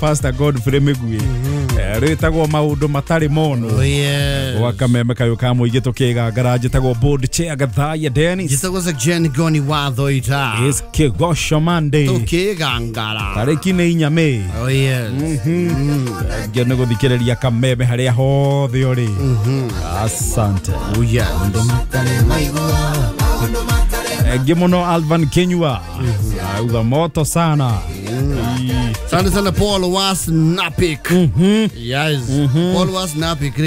Pastor Godfrey Mĩguĩ. Rĩtagwo maũndũ matarĩ mono. Oh, yes. Gwa kameme kayũ ka mũingĩ tũkĩgangara njĩtagwo board chair Gathaiya Dennis. Njĩtagwo Section Goni wa Thoita. Is Kĩgoco Monday. Tũkĩgangara. Tarĩki nĩ inya May. Oh, yes. Ngĩ nĩ gũthikĩrĩria kameme harĩa hothe ũrĩ. Asante. Oh, yes. Ngĩ mũno Alvan Kinyua. Auga moto sana. Asante sana Paul was Napik. Yes. Paul was Napik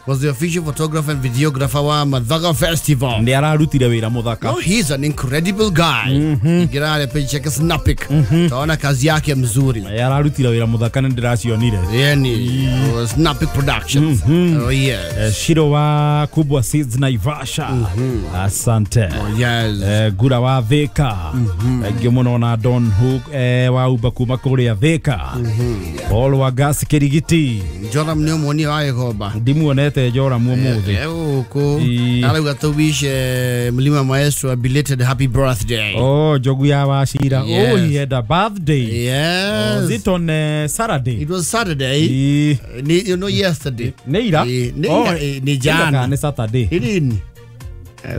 was the official photographer and videographer wa Mathaga Festival. Nĩ ararutire wĩra mũthaka. No, he's an incredible guy. Ingirare page yake Snapik. Taona kazi yake mzuri. Nĩ ararutire wĩra mũthaka nĩ ndĩracionire. Yani Snapik Productions. Oh yes. Shiro wa Kubwa Seeds Naivasha. Asante. Oh yes. Gura wa Thika. Ngĩ mũno na Don Hook wa Uba kuma kũrĩa Thika. Paul wa Gas Kirigiti. Joram nĩ ũmuonie wa Gĩkomba. Ndimuonete Joram ũmũthĩ. Gũkũ arauga tũ wish Mlima Maestro a belated happy birthday. Oh, Njogu ya Wachira. Yes. Oh, he had a birthday. Yes. Was it on Saturday? It was Saturday. You know, yesterday. Nĩ ira? Nĩ jana. Nĩ Saturday. Nĩ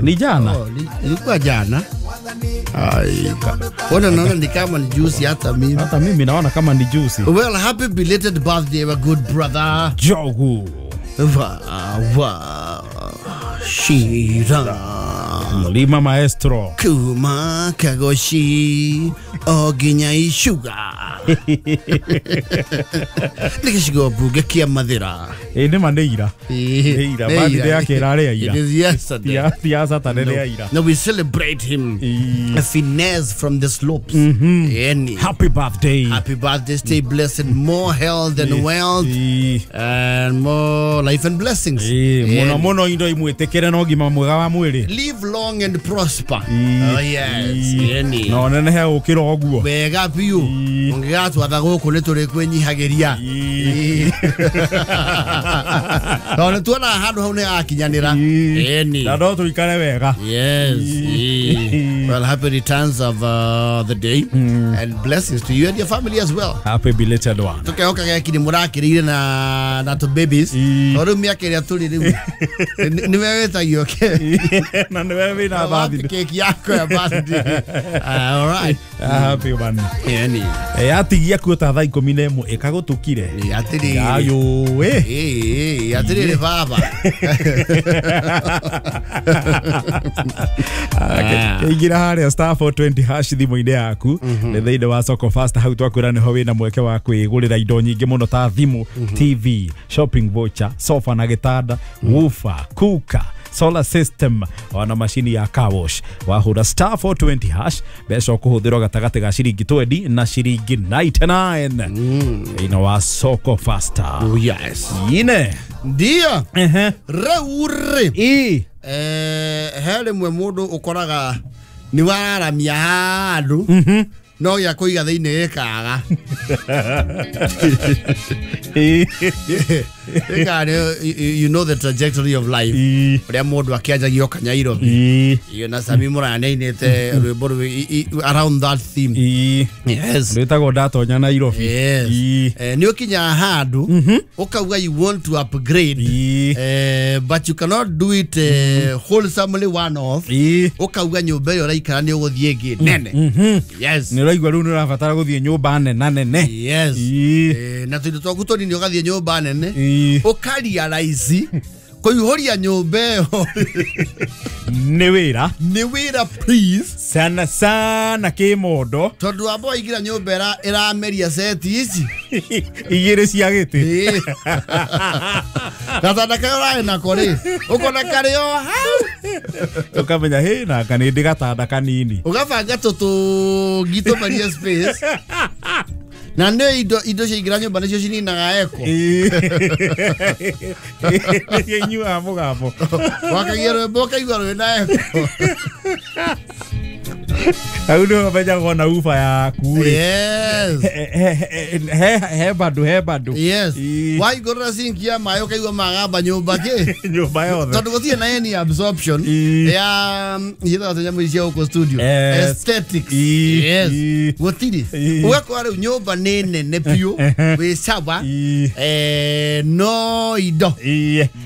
Ni jana? Oh, ilikuwa jana. Ai, ona naona ni kama ni juicy hata mimi. Hata mimi naona kama ni juicy. Well, happy belated birthday my good brother. Jogu. Wa wa Shira. Mlima Maestro. Kuma kagoshi oginya ishuga. Nikishigo buge kia mathira. Nĩ ma nĩ ira. Nĩ ira. Birthday yake ĩrarĩ ira. It is yesterday. Ti ya Saturday nĩ ira. No, we celebrate him. A finesse from the slopes. Yani. Happy birthday. Happy birthday. Stay blessed. More health and wealth. And more life and blessings. Mũno mũno indo imwĩtĩkĩre na ũgima mwega wa mwĩrĩ. Live long and prosper. Oh yes. Yani. No nenehe gũkĩra ũguo. Wega biũ. Ũngĩgatwatha gũkũ nĩ tũrĩ kwĩnyihagĩria. No nĩ tuona handũ hau nĩ akinyanĩra. Ĩni. Na no tũikare wega. Yes. Well, happy returns of the day and blessings to you and your family as well. Happy belated one. Tũkehoka geki nĩ mũrakĩrĩire na tũ babies. Tondũ rĩu mĩaka ĩrĩa tũrĩ rĩu nĩwe wĩtagio na nĩwe wĩna birthday. Keki yako ya birthday. All right. Happy one. Ĩni. Atigia kuo ta thaa 11 ĩkagũtũkire. Atĩrĩrĩ. Ayũ ĩ. Atĩrĩrĩ baba. Ingĩra harĩa star 420 hash thimũ-inĩ yaku nĩ thĩinĩ wa Soko Fast hau twakwĩra nĩho wĩna mweke wa kwĩgũrĩra indo nyingĩ mũno ta thimũ, TV, shopping voucher, sofa na gĩtanda, woofer, cooker, solar system ona macini ya car wash. Wahũra star 420 hash mbeca ũkũhũthĩrwo gatagatĩ ga ciringi 20 na ciringi 99 thĩinĩ wa Soko Fasta. Oh yes. Ine ndio rĩu rĩ he rĩmwe mũndũ ũkoraga nĩ wararamia handũ no gĩa kũiga thĩinĩ gĩkaga. You know the trajectory of life. Ũrĩa mũndũ akĩanjagia oka Nairobi. Iyo na Sami Muraya nĩainĩte rwĩmbo around that theme. Yes. Rwĩtagwo ndatonya Nairobi. Yes. Nĩ ũkinyaga handũ ũkauga you want to upgrade but you cannot do it wholesomely one off. Ũkauga nyũmba ĩyo ũraikara nĩ ũgũthiĩ ĩngĩ nene. Yes. Nĩ ũraigua rĩu nĩ ũrabatara gũthiĩ nyũmba nene nene. Yes. Na tũindo twaku tũnini ũgathiĩ nyũmba nene. Ũkarealize kũihũria nyũmba ĩyo nĩ wĩra. Nĩ wĩra please. Sana sana kĩmondo. Tondũ wamba waingĩra nyũmba ĩrameria seti ici igĩrĩ cia gĩtĩ. Gatanda karĩa ũrarĩ nako rĩ ũkona karĩ o hau. Ũkamenya hĩ nanga nĩ ndĩ gatanda kanini. Ũgabanga tũtũngi tũmerie space. Na nĩ indo ciaingĩra nyũmba nĩcio cininaga eko. Nĩcio inyuaga mũgambo. Wakagia rwĩmbo ũkaigua rwĩna eko. Hau nĩho ũmenyagwo na uba yaku rĩ. Yes. He bado he bado. Yes. Waigũrĩra sinki ya maĩ ũkaigua magamba nyũmba kĩ nyũmba yothe. Tondũ gũtirĩ na any absorption ya yĩtagwo nyamũ ici cia gũkũ studio. Aesthetics. Yes. Gũtirĩ. Ũgakora rĩu nyũmba nĩ nene biũ wĩ sawa no indo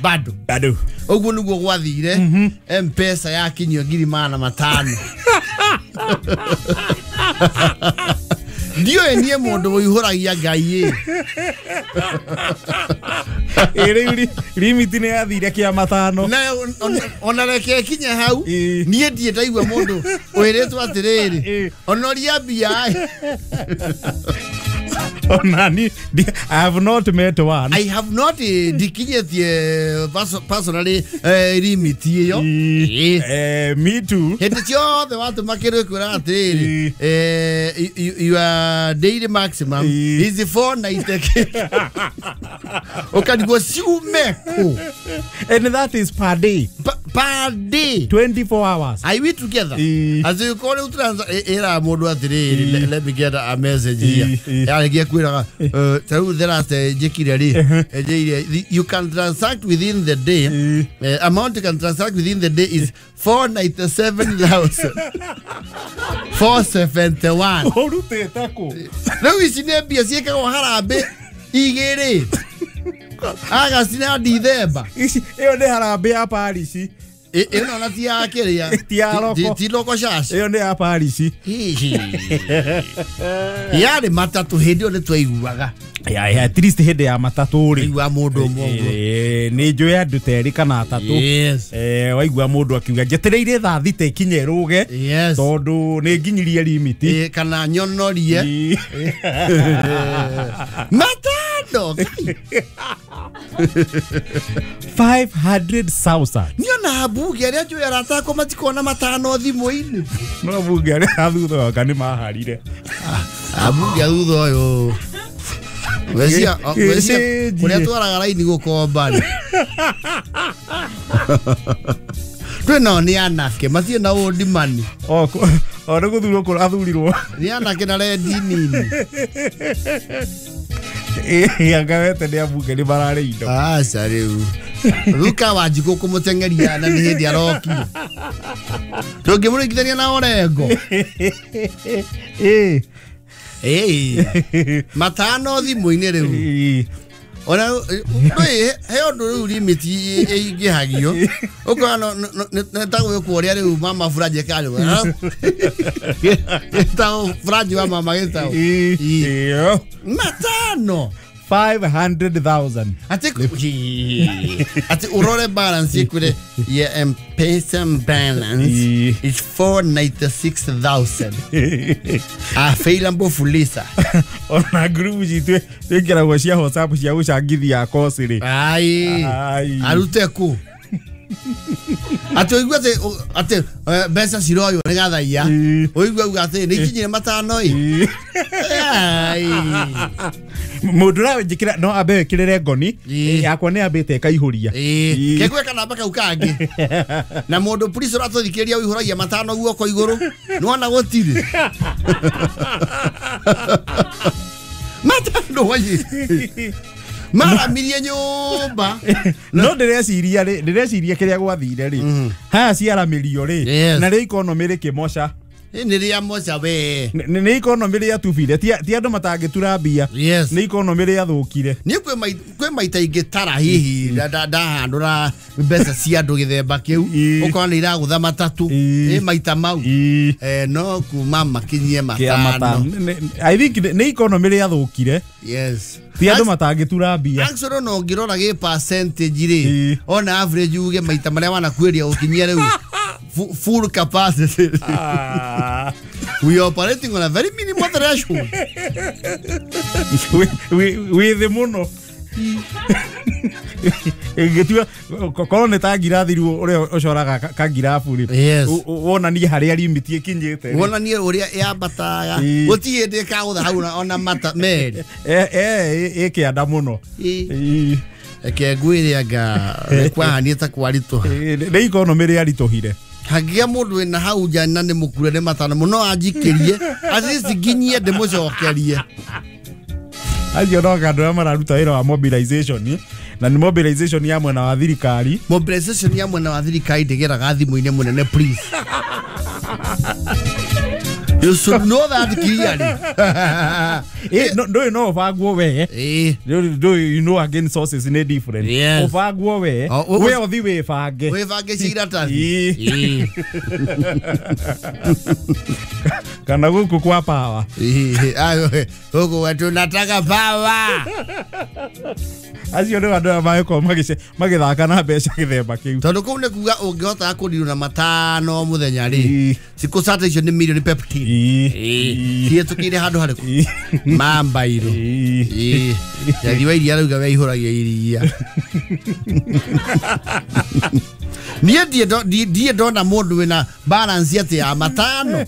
bado. Bado. Ũguo nĩguo gwathire M-Pesa yakinyio 500,000. Ndiũĩ niĩ mũndũ ũihũragia Ngai ĩ. Rĩu limit nĩ yathire kĩa 5. Na ona reke kinye hau niĩ ndirĩ ndaigua mũndũ wĩrĩtwo atĩrĩrĩ onoria mbia. Onani, I have not met one. I have not ndikinyĩtie personally limit ĩyo. Me too. Hĩndĩ ciothe watũma kĩndũ ĩkwĩra atĩrĩrĩ your daily maximum is 490. Ũkarigwo ciume kũ. And that is per day. Per day. 24 hours. Are we together? As you call it, era mũndũ atĩrĩrĩ let me get a message here. Yarĩkia kwĩraga ta rĩu the last njĩkire rĩ njĩire you can transact within the day amount you can transact within the day is 497,471. Ũrutĩte kũ? Rĩu ici nĩ mbia ciĩkagwo harambĩ igĩrĩ Agasti na Dithemba. Ĩyo nĩ harambĩ ya parish. Ĩno na ti ya kĩrĩa. Ti ya loko. Ti loko shash. Ĩyo nĩ ya parish. Hihi. Yarĩ matatũ hĩndĩ ĩyo nĩ twaiguaga. Ya at least hĩndĩ ya matatũ rĩ. Waigua mũndũ ũmwe ũguo. Nĩ njũĩ andũ ta erĩ kana atatũ. Yes. Waigua mũndũ akiuga njetereire thaa thita ikinye ĩrũge. Yes. Tondũ nĩ nginyirie limit. Kana nyonorie. Matano. 500,000. Niona mbunge arĩa njũĩ arata akwa matikona matano thimũ-inĩ. No mbunge arĩa thutha waka nĩ maharire. Mbunge a thutha ũyũ. Wecia kũrĩa twaraga raini gũkomba rĩ. Twĩ nao nĩ anake matirĩ na ũndimani. O nĩ gũthurwo kũrathurirwo. Nĩ anake na rendi nini. Anga wete nĩ ambunge nĩ mararĩ indo. Aca rĩu. Ruka Wanjikũ kũmũteng'eria na nĩ hĩndĩ arokire. Tũngĩmũringithania na Orengo. Matano thimũ-inĩ rĩu. Ona he ũndũ rĩu limit ĩingĩhagio. Ũkona nĩ ta gwĩkwo ũrĩa rĩu mama Furaji ekaga. Gĩtagwo Furaji wa mama gĩtagwo. Matano. 500,000. Ati urore balance ikwire ya M-Pesa balance is 496,000. Available Fuliza. Ona group citũ twĩkĩragwo cia WhatsApp cia gũcangithia kosi rĩ. Ai. Arute kũ? Ati ũigue atĩ mbeca ciroywo nĩ gathaia. Ũigue auga atĩ nĩ ikinyire matano ĩ. Ai. Mũndũ ũranjĩkĩra no ambe wĩkĩrĩre ngoni yakwa nĩ ambĩte ĩkaihũria. Kegwe kanamba kau kangĩ. Na mũndũ police ũratũthikĩrĩria ũihũragia matano guoko igũrũ. Nĩwona gũtirĩ. Matano wayi. Maramirie nyũmba. No ndĩreciria rĩ, ndĩreciria kĩrĩa gwathire rĩ. Haya ciaramĩrio rĩ. Na rĩ economy rĩkĩmoca. Nĩ rĩa moca we. Nĩ economy rĩatubire. Ti andũ matangĩtura mbia. Nĩ economy rĩathũkire. Niĩ kwĩ maita ingĩ tara hihi ndahandũra mbeca cia andũ gĩthemba kĩu. Ũkona nĩ iragũtha matatũ. Nĩ maita mau. No kuma makinyie matano. I think nĩ economy rĩathũkire. Yes. Ti andũ matangĩtura mbia. Actually no ũngĩrora gĩ percentage rĩ. Ona average uge maita marĩa wanakuĩria ũkinyia rĩu. Full capacity. We are operating on a very minimal threshold. We the mono. Ĩngĩtua korwo nĩ ta ngirathi rĩu ũrĩa ũcoraga ka ngirabu rĩ. Wonanie harĩa limit ĩkinyĩte. Wonanie ũrĩa yambataga. Gũtirĩ hĩndĩ ĩkagũtha hau ona mata merĩ. Ĩkĩanda mũno. Reke ngwĩre anga nĩ kwahanire ta kwaritũha. Nĩ economy rĩaritũhire. Hangĩgĩa mũndũ wĩna hau nja na nĩ mũkure nĩ matano mũno anjikĩrie at least nginyie ndĩmũcokerie. Acio no andũ arĩa mararuta wĩra wa mobilization, na nĩ mobilization ya mwena wa thirikari. Mobilization ya mwena wa thirikari ndĩgeraga thimũ-inĩ mũnene, please. You should know that clearly. No, no ũbangwo we. You know again sources nĩ different. Ũbangwo we. We ũthi wĩbange. Wĩbange cia iratathi. Kana gũkũ kwa power. Gũkũ wetu nataka power. Acio nĩ andũ arĩa magĩkorwo magĩthaka na mbeca gĩthemba kĩu. Tondũ kũu nĩ kuga ũngĩhota kũndirwo na matano mũthenya rĩ, cikũ sata icio nĩ mirioni peptin. Cihetũkĩire handũ harĩkũ? Mambairũ. Njathi wa iria arauga we aihũragia iria. Niĩ ndirĩ ndona mũndũ wĩna balance atĩ ya matano.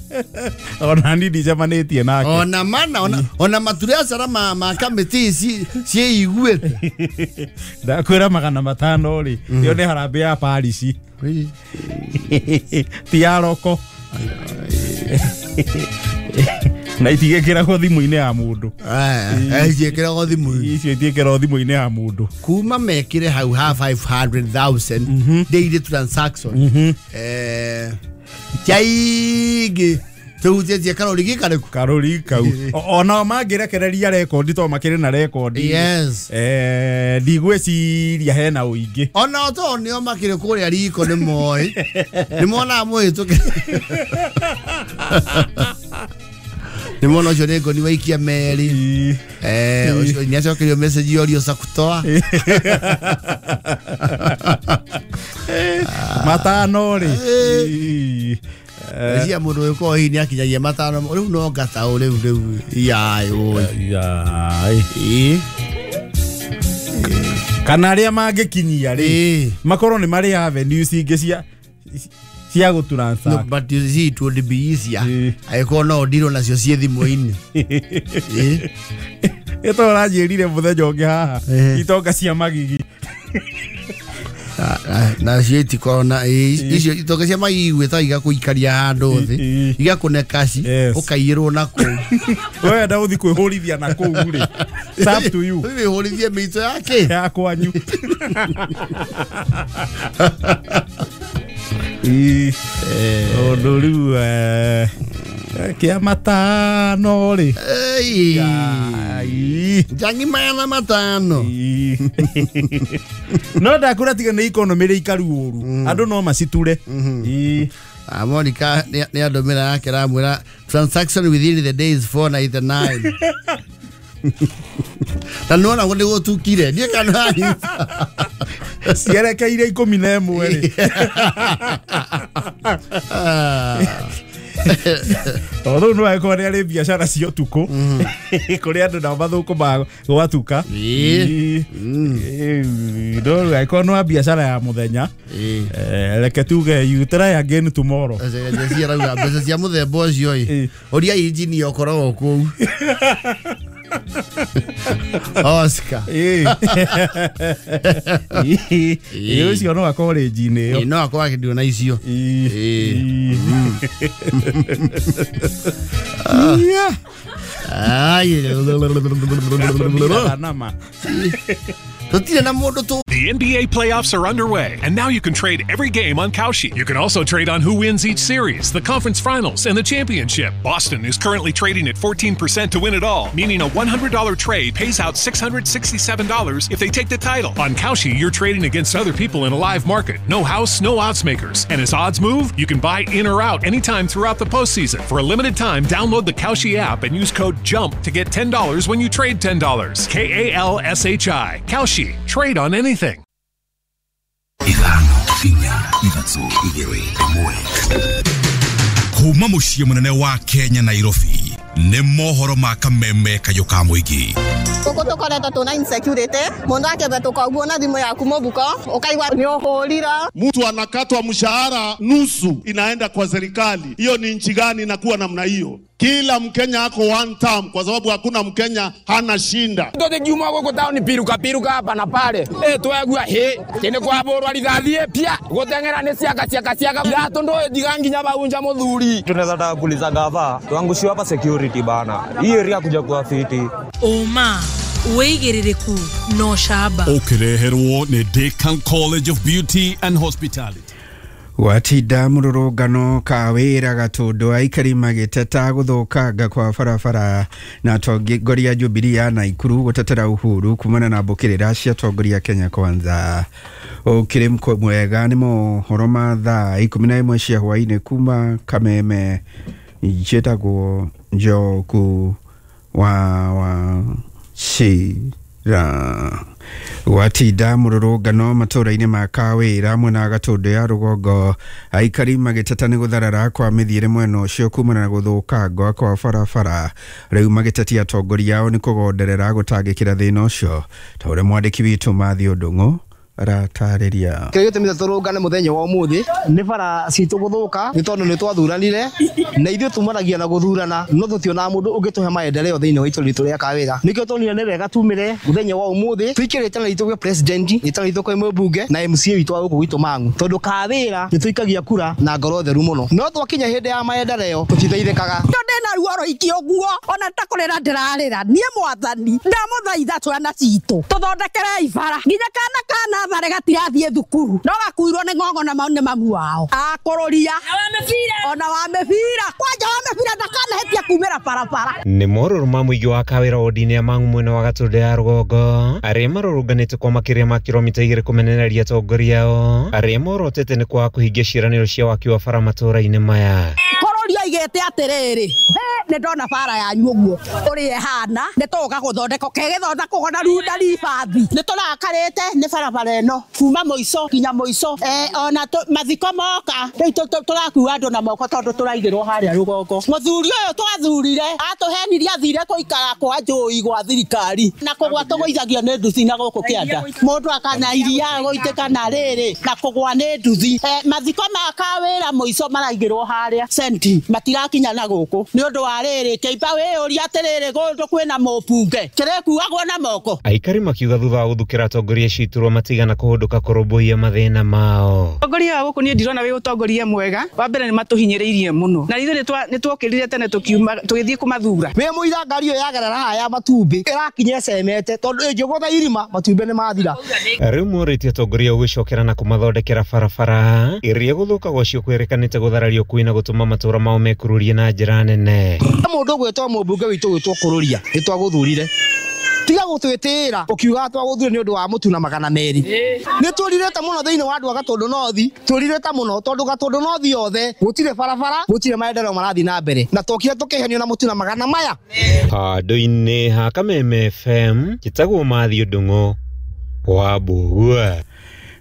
Ona niĩ ndicemanĩtie nake. Ona mana, ona maturiacara ma kamĩtĩ ciĩiguĩte. Ndakwĩra 500 rĩ, ĩyo nĩ harambee ya parish. Ti ya roko. Na itigĩkĩragwo thimũ-inĩ ya mũndũ. Itiĩkĩragwo thimũ-inĩ. Icio itiĩkĩragwo thimũ-inĩ ya mũndũ. Kuma mekĩre hau ha 500,000 daily transaction. Tiaingĩ tũhutĩtie karori gĩkarĩkũ? Karori kau. Onao mangĩrekereria rekondi to makĩrĩ na rekondi. Yes. Ndigwĩciria hena ũingĩ. Onao to nĩo makĩrĩ kũrĩa riko nĩ moĩ. Nĩ monaga mũhĩtũke. Nĩ mona ũcio nĩ ngoni waikia meri. Ũcio nĩ acokerio message yorio sakutoa. Matano rĩ. Cia mũndũ ũyũ hihi nĩ akinyagia matano rĩu no ngataũ rĩu rĩu yai oi. Kana arĩa mangĩkinyia rĩ makorwo nĩ marĩ avenues ingĩ cia gũtransact. No, but you see it would be easier. Angĩkorwo no ndirwo nacio ciĩ thimũ-inĩ. Ĩto ũranjĩrire mũthenya ũngĩ haha itonga cia magigi. Na cio itikorwo na icio itonga cia magigi gwĩta igakũikaria handũ thĩ igakũne kaci ũkaiyĩrwo na kũu. Wenda ũthi kwĩhũrithia na kũu rĩ, it's up to you. Wĩhũrithie mĩito yake ya kwanyu. Ũndũ rĩu kĩa matano rĩ. Njangi 500. No ndakũra tiga nĩ economy rĩ ikaru ũru. Andũ no maciture. Monica nĩ andũmĩra yake ramwĩra transaction within the days 499. Na nĩwona nĩ gũtukire niĩ kana cierekeire 11 rĩ. Tondũ no angĩkorwo nĩ arĩ biacara cia ũtukũ kũrĩ andũ nao mathũkũmaga gwatuka. No angĩkorwo nĩ wa biacara ya mũthenya, reke tuge you try again tomorrow. Arauga mbeca cia mũthemba ũcio ĩ ũria injinia ũkoragwo kũu. Oscar. Ũcio no akorwo rĩnji-inĩ ĩyo. No akorwo akĩndio na icio. The NBA playoffs are underway, and now you can trade every game on Kalshi. You can also trade on who wins each series, the conference finals, and the championship. Boston is currently trading at 14% to win it all, meaning a $100 trade pays out $667 if they take the title. On Kalshi, you're trading against other people in a live market. No house, no odds makers. And as odds move, you can buy in or out anytime throughout the postseason. For a limited time, download the Kalshi app and use code JUMP to get $10 when you trade $10. K-A-L-S-H-I. Kalshi. Trade on anything. Kuma muciĩ mũnene wa Kenya Nairobi nĩ mohoro ma kameme kayũ ka mũingĩ. Gũkũ tũkoretwo tũna insecurity mũndũ akĩhetũka ũguo na thimũ yaku mũbuko ũkaigua nĩ ũhũrira. Mtu anakatwa mshahara nusu inaenda kwa serikali. Hiyo ni nchi gani inakuwa namna hiyo? Kila Mkenya ako one term, kwa sababu hakuna Mkenya hana shinda. Tũthikiuma gũkũ taũni piruka piruka hapa na pale twegua hĩ kĩndĩ kwabũrwa rithathi pia gũteng'era nĩ ciaka ciaka ciaka gatũ ndũĩtiga nginya baunja mũthuri. Tunaweza taka kuuliza gava tuangushiwe hapa security bana, hii area kuja kuwa fiti Ũma wĩigĩrĩrĩku na ũcamba Ũkĩreherwo nĩ Decan College of Beauty and Hospitality. Gwatinda mũrũrũngano ka wĩra Gatũndũ aikari magĩteta gũthũkanga kwa barabara na atongoria Jubilee ya Naikuru gũtetera Uhuru kumana na mbũkĩrĩra cia atongoria Kenya Kwanza. Ũkĩrĩ mwega nĩ mohoro ma thaa 11 cia hwaĩ-inĩ kuma Kameme. Njĩtagwo Njoku wa Wachira. Gwatinda mũrũrũngano matũra-inĩ ma Kawĩra mwena wa Gatũndũ ya rũgongo aikari magĩteta nĩ gũtharara kwa mĩthiĩre mwena ũcio kumana na gũthũkangwa kwa barabara rĩu magĩtetia atongoria ao nĩ kũgonderera gũtangĩkĩra thĩna ũcio ta ũrĩa mwandĩki witũ Matthew Ndung'u aratarĩria. Kĩrĩa gĩtũmĩte tũrũngane mũthenya wa ũmũthĩ nĩ bara citũ gũthũka nĩ tondũ nĩ twathuranire na ithuĩ tumanagia na gũthurana no tũtionaga mũndũ ũngĩtũhe maendeleo thĩinĩ wa itũra ritũ rĩa Kawĩra. Nĩkĩo tuonire nĩ wega tumĩre mũthenya wa ũmũthĩ tũikĩrĩte na ritũ gwĩ president rĩtana ritũ kwĩ mũmbunge na MCA witũ wa gũkũ gwitũ Mang'u tondũ Kawĩra nĩ tũikagia kura na ngoro theru mũno no twakinya hĩndĩ ya maendeleo tũtiteithĩkaga. Ndĩna ruo rũingĩ ũguo ona ta kũrĩra ndĩrarĩra niĩ mwathani ndamũthaitha twana citũ tũthondekerei bara nginya kana kana thare gatirathiĩ thukuru no gakuirwo nĩ ng'ong'o na mau nĩ mamu wao akũrũria ona wa mĩbira kwanja wa mĩbira ndakanahĩtia kumĩra barabara. Nĩ morũrũ ma mũingĩ wa Kawĩra wodi-inĩ ya Mang'u mwena wa Gatũndũ ya rũgongo arĩa marũrũnganĩte kwa makĩria ma kilomita 2 kũmenereria atongoria ao arĩa morotete nĩ kwaga kũhingia ciĩranĩro cia waki wa bara matũũra-inĩ maya. Kũrũria aigĩte atĩrĩrĩ nĩ ndona bara yanyu ũguo ũrĩa ĩhana nĩ tũgũka gũthondeka kegĩthondekwo na runda ribathi. Nĩ tũrakarĩte nĩ barabara ĩno kuma mũico nginya mũico ona mathiko moka rĩu tũrakua andũ na moko tondũ tũraigĩrwo harĩa rũgongo. Mũthuri ũyũ twathurire atũhenirie athire kũikara kwa njũi gwa thirikari na kũgwa tũgũithagio nĩ nduthi na gũkũ kĩanda mũndũ akana iria gũitĩka na rĩrĩ na kũgwa nĩ nduthi. Mathiko ma Kawĩra mũico maraigĩrwo harĩa senti matirakinya na gũkũ nĩ ũndũ wa rĩrĩ kĩimba wĩyũria atĩrĩrĩ kũndũ kwĩna mũmbunge kĩrĩkuagwo na moko. Aikari makiuga thutha wa gũthukĩra atongoria acio iturwa matigana kũhũndũka kũrũmbũiya mathĩna mao. Ũtongoria wa gũkũ niĩ ndirona wĩ ũtongoria mwega. Wa mbere nĩ matũhinyĩrĩirie mũno na ithuĩ nĩ twokĩrire tene tũgĩthiĩ kũmathura. Wĩ mũira ngari ĩyo yagerera haha ya matumbĩ ĩrakinya ĩcemete tondũ ĩngĩgũtha irima matumbĩ nĩ mathira. Rĩu morĩtie atongoria gũgĩcokera na kũmathondekera barabara ĩrĩa gũthũka gwacio kwĩrĩkanĩte gũtharario kwĩ na gũtũma matũra mao mekururie na njĩra nene. Mũndũ ũgwĩtwo mũmbunge witũ ũgwĩtwo Kũrũria nĩ twagũthurire tiga gũtwĩtĩĩra ũkiuga twagũthurire nĩ ũndũ wa mũtu na 200. Nĩ tũrirĩte mũno thĩinĩ wa andũ a Gatũndũ North, tũrirĩte mũno tondũ Gatũndũ North yothe gũtirĩ barabara gũtirĩ maendeleo marathiĩ na mbere na twokire tũkĩhenio na mũtu na 100 maya. Handũ-inĩ ha Kameme FM njĩtagwo Matthew Ndung'u wa Mbũgua.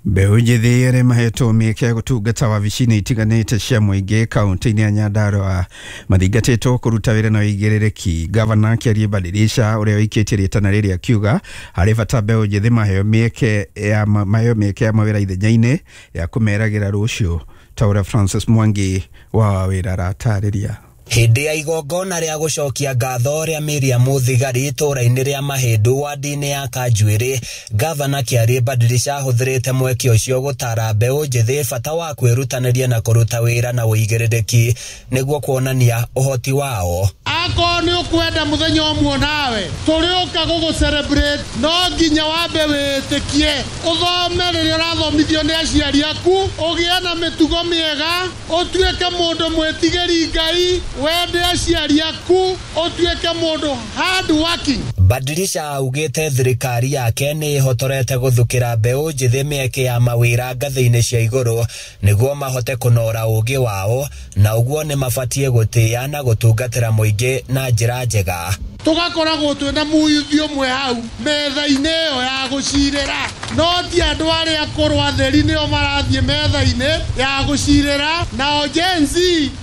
Mbeũ njĩthĩ arĩa mahetwo mĩeke ya gũtungata wabici-inĩ itiganĩte cia mũingĩ kaũntĩ-inĩ ya Nyandarua mathingatĩtwo kũruta wĩra na ũigĩrĩrĩki. Gavana akĩaria Badilisha ũrĩa ũikĩtie rĩtana rĩrĩ akiuga harĩ bata mbeũ njĩthĩ maheo mĩeke ya mawĩra ithenya-inĩ ya kũmeragĩra rũciũ ta ũrĩa Francis Mwangi wa wĩra aratarĩria. Hĩndĩ ya igongona rĩa gũcokia ngatho rĩa Miriam Thigari itũũra-inĩ rĩa Mahĩndũ wadi-inĩ ya Kanjuĩrĩ, Gavana Kĩarie Badilisha ahũthĩrĩte mweke ũcio gũtara mbeũ njĩthĩ bata wa kwĩrutanĩria na kũruta wĩra na ũigĩrĩrĩki nĩguo kuonania ũhoti wao. Akorwo nĩ ũkwenda mũthenya ũmwe nawe tũrĩũka gũgũ celebrate no nginya wambe wĩtĩkie ũthome rĩrĩa ũrathomithio nĩ aciari aku ũgĩe na mĩtugo mĩega ũtuĩke mũndũ mwĩtigĩri Ngai wende aciari aku ũtuĩke mũndũ hard working. Badilisha augĩte thirikari yake nĩ ĩhotorete gũthukĩra mbeũ njĩthĩ mĩeke ya mawĩra ngathĩ-inĩ cia igũrũ nĩguo mahote kũnora ũũgĩ wao na ũguo nĩ mabatiĩ gũtĩĩa na gũtungatĩra mũingĩ na njĩra njega. Tũgakoragwo twĩna mũyuthi ũmwe hau metha-inĩ ĩyo ya ya gũcirĩra no ti andũ arĩa akũrũ atheri nĩo marathiĩ metha-inĩ ya gũcirĩra, nao Gen Z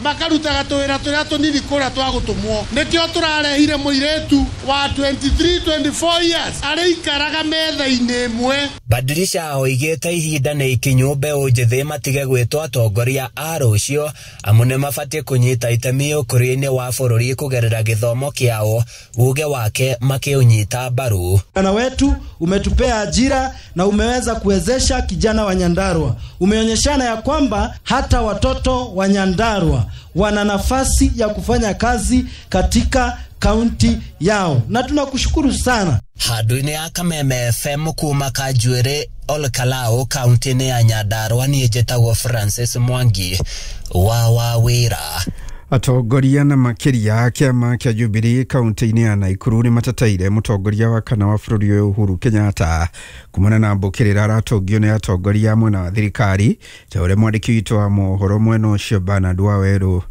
makarutaga tũwĩra tũrĩa tũnini kũrĩa twa gũtũmwo. Nĩkĩo tũrarehire mũirĩtu wa 23 24 years arĩikaraga metha-inĩ ĩmwe. Badilisha oigĩte ihinda nĩ ikinyu mbeũ njĩthĩ matige gwĩtwo atongoria a rũciũ amu nĩ mabatiĩ kũnyita itemi ũkũria-inĩ wa bũrũri kũgerera gĩthomo kĩao, uge wake makĩũnyita mbaru. Vijana wetu umetupea ajira na umeweza kuwezesha kijana wa Nyandarua. Umeonyeshana ya kwamba hata watoto wa Nyandarua wana nafasi ya kufanya kazi katika kaunti yao, na tunakushukuru sana. Handũ-inĩ ya Kameme FM kuma Kanjuĩrĩ Olkalau kaunti-inĩ ya Nyandarua, niĩ njĩtagwo Francis Mwangi wa Wawĩra. Atongoria na makĩria kĩama kĩa Jubilee kaunti-inĩ ya Nakuru nĩ mateteire mũtongoria wa kana wa bũrũri ũyũ Uhuru Kenyatta kumana na mbũkĩrĩra aratũngio nĩ atongoria a mwena wa thirikari, ta ũrĩa mwandĩki witũ wa mohoro mwena ũcio Bernard Wawerũ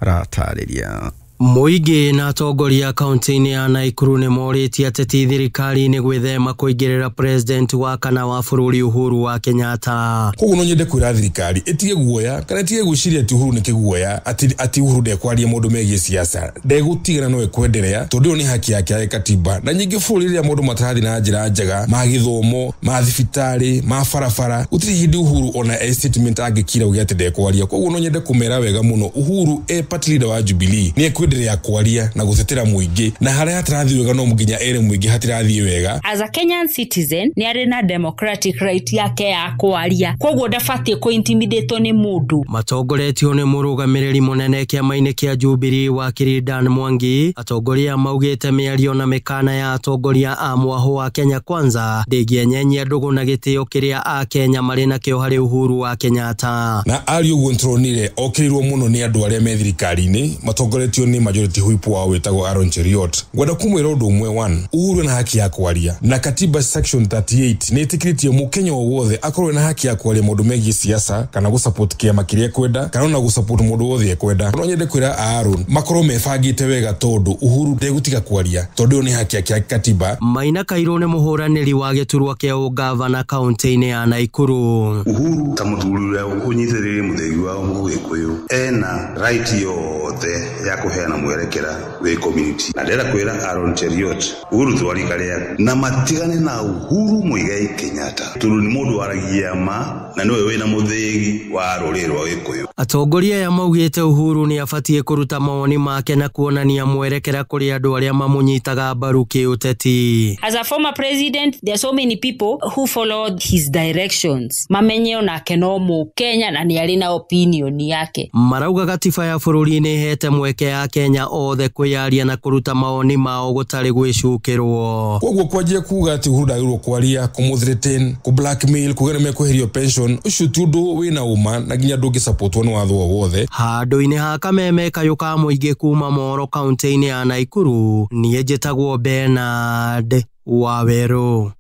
aratarĩria. Mũingĩ na atongoria kaunti-inĩ ya Nakuru nĩ morĩtie ateti thirikari-inĩ gwĩthema kũingĩrĩra president wa kana wa bũrũri Uhuru wa Kenyatta. Koguo no nyende kwĩra thirikari ĩtige guoya kana ĩtige gwĩciria atĩ Uhuru nĩ kĩguoya, atĩ Uhuru ndekwaria maũndũ megiĩ siasa, ndegũtigana no ekwenderea tondũ ĩyo nĩ haki yake ya katiba. Na nyingĩ bũrũri rĩrĩa maũndũ matarathiĩ na njĩra njega ma gĩthomo, ma thibitarĩ, ma barabara, gũtirĩ hĩndĩ Uhuru ona e statement angĩkira uge atĩ ndekwaria. Koguo no nyende kũmera wega mũno Uhuru e party leader wa Jubilee nĩ ekwenderea kwaria na gũtetera mũingĩ, na harĩa hatarathi wega no nginya ere mũingĩ hatirathi wega. As a Kenyan citizen nĩ arĩ na democratic right yake ya kwaria, koguo ndabatiĩ kũ-intimidate nĩ mũndũ. Matongoretio nĩ mũrũgamĩrĩri mũnene kĩama-inĩ kĩa Jubilee wakiri Dan Mwangi, atongoria maugĩte mĩario na mĩkana ya atongoria a mwahũ wa Kenya Kwanza ndĩngĩenyenyia ndũgũ na gĩtĩo kĩrĩa a Kenya marĩ nakĩo harĩ Uhuru wa Kenyatta. Na ari ũguo nĩtũronire okĩrĩirwo mũno nĩ andũ arĩa me thirikari-inĩ matongoretio nĩ majority whip wao wĩtagwo Aaron Cheruiyot. Ngwenda kũmwĩra ũndũ ũmwe, one, Uhuru ena haki ya kwaria na katiba section 38 nĩ ĩtĩkĩrĩtie mũkenya o wothe akorwo ena haki ya kwaria maũndũ megiĩ siasa kana gũsupport kĩama kĩrĩa ekwenda kana ona gũsupport mũndũ wothe ekwenda. No nyende kwĩra Aaron makorwo mebangĩte wega tondũ Uhuru ndegũtiga kwaria tondũ ĩyo nĩ haki yake ya katiba. Maina Kairũ nĩ mũhũranĩri wa gĩturwa kĩa ũgavana kaunti-inĩ ya Nakuru. Uhuru ta mũthuri ũrĩa ũnyitĩrĩire mũthĩgi wa Mũgĩkũyũ ena right yothe ya kũheana mwerekera wĩ community, na ndĩrenda kwĩra Aaron Cheruiyot Uhuru twarika rĩaku na matigane na Uhuru Muigai Kenyatta tondũ nĩ mũndũ waragia ma na nĩwe wĩna mũthĩgi wa rũrĩrĩ rwa Gĩkũyũ. Atongoria aya maugĩte Uhuru nĩ abatiĩ kũruta mawoni make na kuonania mwerekera kũrĩ andũ arĩa mamũnyitaga mbaru kĩũteti. As a former president, there are so many people who followed his directions. Mamenye onake no mũkenya na nĩ arĩ na opinion yake. Marauga gatiba ya bũrũri nĩ ĩhete mweke ya Kenya othe kwĩyaria na kũruta mawoni mao gũtarĩ gwĩcukĩrwo. Koguo kwanjia kuga atĩ Uhuru ndagĩrĩirwo kwaria, kũmũ-threaten, kũ-blackmail, kuga nĩmekweherio pension, ũcio ti ũndũ wĩna ũma na nginya ndũngĩsupportwo nĩ watho o wothe. Handũ-inĩ ha Kameme kayũ ka mũingĩ kuma Moro kaunti-inĩ ya Nakuru, niĩ njĩtagwo Bernard Wawerũ.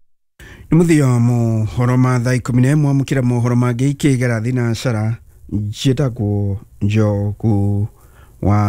Nĩ mũthia wa mohoro ma thaa 11, amũkĩra mohoro mangĩ ikĩgera thinacara. Njĩtagwo Njogu wa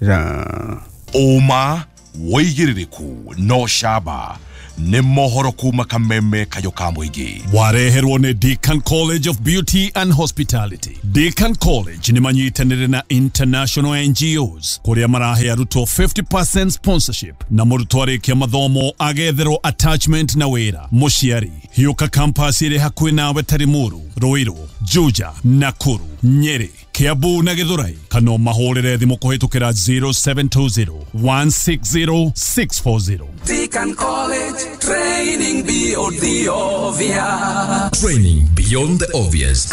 Wachira. Ũma wĩigĩrĩrĩku no camba nĩ mohoro kuma Kameme kayũ ka mũingĩ. Wareherwo nĩ Deakin College of Beauty and Hospitality. Deakin College nĩ manyitanĩire na international NGOs kũrĩa marahe arutwo 50% sponsorship na mũrutwo arĩkia mathomo agetherwo attachment na wĩra. Mũciari hiũka campus ĩrĩ hakuhĩ nawe ta Limuru, Ruiru, Juja, Nakuru, Nyeri, Kiambu na Githurai, kana mahũrĩre thimũ kũhĩtũkĩra 0720 160 640. Deakin College, training beyond the obvious. Training beyond the obvious.